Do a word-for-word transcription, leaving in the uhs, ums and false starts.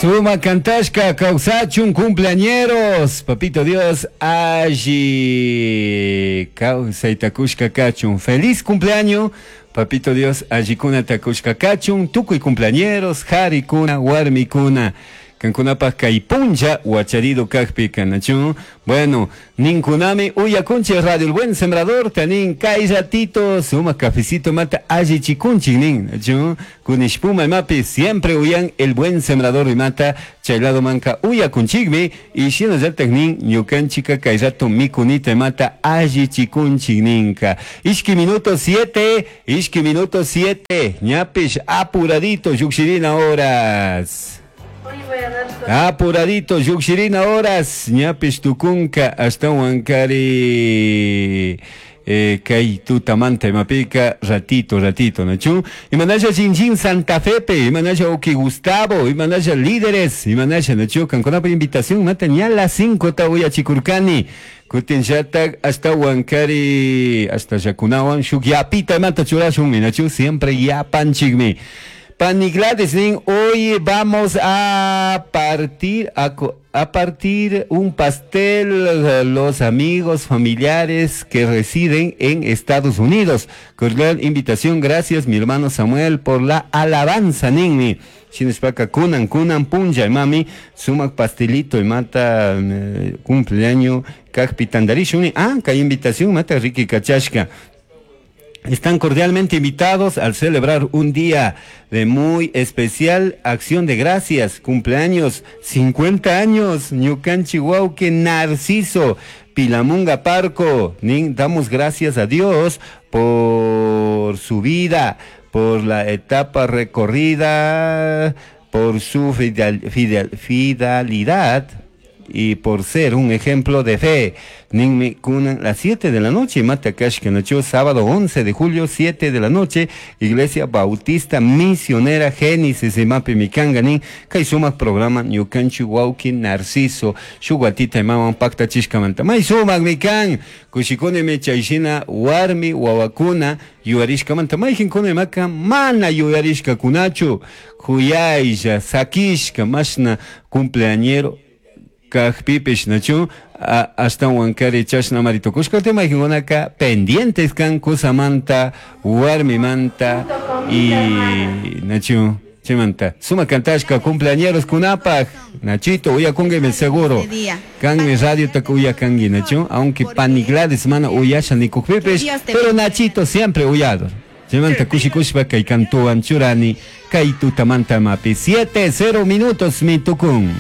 Suma cantashka kawsachun cumpleañeros. Papito Dios, alli kawsayta kushka kachun. Feliz cumpleaños. Papito Dios, allikunata kushka kachun. Tukuy cumpleañeros, harikuna, warmikuna. Kankunapaj kay punlla wacharido kajpika, nachu? Bueno, ninkunami uyakunchik Radio El Buen Sembrador, tanin kay ratito, suma cafecito mata allichikunchik nin, nachu? Kunishpuma imapi siempre uyan El Buen Sembrador imata, chay lado manka uyakunchikmi, y shinallatak nin ñukanchika kay rato mikunita imata allichikunchik ninka. Ishki minuto siete, ishki minuto siete, ñapish apuradito, llukshirina horas. Apuradito, llukshirina horas, ñapish tukunka, ashtawankari eh, kay tutamanta imapika, ratito, ratito, nachu? Imanasha Chinchín Santa Fepe, imanasha Oki Gustavo, imanasha líderes, imanasha, nachu? Kankunapa invitación, mata ña las cinco ta uyachikurkani. Kutin llatak ashtawankari, hasta yakunawan, shuk yapita imata churashunmi, nachu? Siempre yapanchikmi. Pani Gladys nin, hoy vamos a partir, a, a partir un pastel los amigos familiares que residen en Estados Unidos. Cordial invitación, gracias mi hermano Samuel por la alabanza, ninmi. Shinashpaka kunan, kunan punlla, mami, sumak pastelito, mata eh, cumpleaños, kajpi tandarishuni. Ah, kay invitación, mata Ricky Kachashka. Están cordialmente invitados al celebrar un día de muy especial acción de gracias, cumpleaños, cincuenta años, Ñukanchi wawki Narciso, Pilamunga Parco. Nin, damos gracias a Dios por su vida, por la etapa recorrida, por su fidel, fidel, fidelidad y por ser un ejemplo de fe. Ninmi kunan las siete de la noche, mata kashka nacho, sábado once de julio, siete de la noche, Iglesia Bautista Misionera Génesis, imapi mikanga nin, kay sumak programa ñukanchik wawki Narciso, shuk watita imawan paktachishkamanta. May sumak mikan, kushikunimi chayshina warmi wawakuna yuyarishkamanta, mayqinkuna imaka mana yuyarishkakunachu, kuyaylla, sakishka, mashna cumpleañero kajpipish nachu, ashtawankari chashna mari tukushka mayqinkunaka pendientes kan kusamanta, warmimanta y nachu, chaymanta. Suma kantashka cumpleañeros kunapaj, Nachito, uyakunguimi seguro. Kanmi radio taka uyakangi, nachu, aunque pani Gladys mana uyasha nikukpipish, pero Nachito siempre uyado. Chaymanta kushikushpa kay kantuwan churani, kay tutamanta mapi. Siete, cero minutos mi tukun.